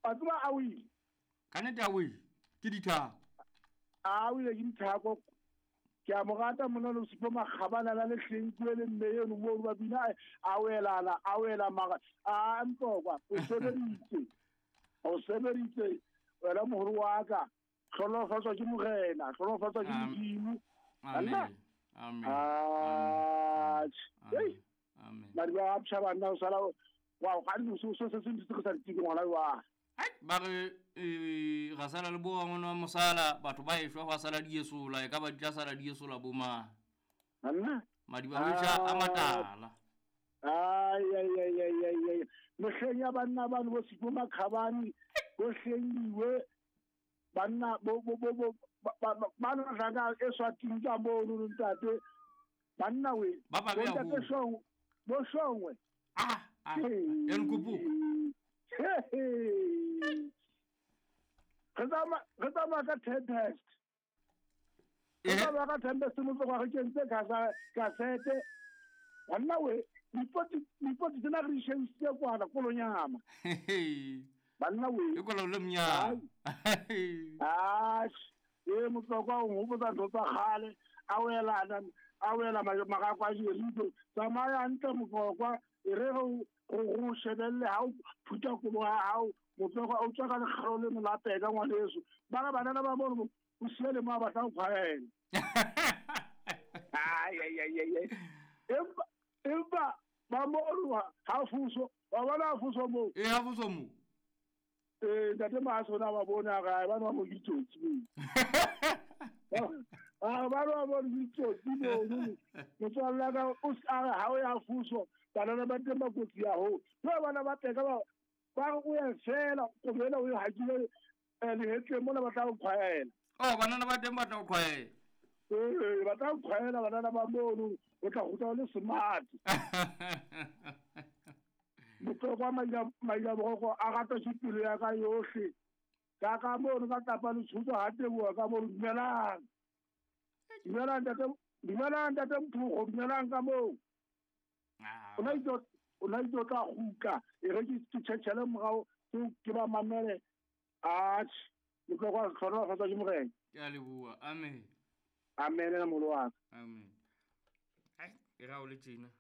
Wa tseba a wile. Ka nnete a wile ke dithako. A wile ke dithako. Ke a mo rata monna le Sipho Makgabana la lehleng kue le mme eno moo ba bina a welana a wela mara a ntokwa o sebeditse o sebeditse wena moholo wa ka hlolofatswa ke morena hlolofatswa ke Modimo. Amen. Amen. Amen. Amen. Madiba a psha banna o sala wa ga di so se se se se sa ditiki ngwana wa. Ai ba re eh, ga sala le bo ngwana wa mosala batho ba eshwa gwa sala diesola e ka ba di tla sala diesola bo mang. Anna. Madiba a psha a matala. Ai ai ai ai ai ai. Mehleng ya banna bano bo Sipho Makhabane bo hlengiwe banna bo bo bo bo ba no tla e swating ka mono ntate banna we ba ba bea ho shongwe bo shongwe ah ah ya nkupuka re tsamaya ka tempest re tsamaya ka tempest mo tloga re kentse kasete banna we dipoti tsena re di shebisitse kwana kolonyama banna we e kola le mnyama atjhe e motlokwa o nghopotsa ntho tsa kgale a welana a wela magako a jeriko tsamaya ntle motlokwa e re go go shebelle ha o phutha kobo ya hao motlokwa o tswa ka lekgalo le molapeka ngwaneso ba re banana ba mono o siele mo a batla go kgwaela empa empa ba mono ha fuso wa bona ha fuso moo e ha fuso moo ee ntate maaso na ba bone a gae ba nwa mo ditsotsi ba nwa mo ditsotsi mono motswalle ka o a re ha o ya fuso banana ba teng ba kotsi ya ho ba bana ba teka ba ba re o ya fela kobela o e hakile lehetleng mona ba tla o kgwaela oh banana ba teng ba tla o kgwaela ee ba tla o kgwaela banana ba mono o tla gotla o le smart motlokwa maila boroko a rata ke pelo ya ka yohle ka ka mono ka tapa letshotso ga teboa ka mono dumelang dumelang ntate dumelang ntate mphogo dumelang ka moo o na itse o na itse o tla gutla e re ke tšhetšhele morago ke ba mamele atjhe motlokwa tlhonolofatsa ke morena ke a leboa amen amen na molo wa amen e ga o le tjena.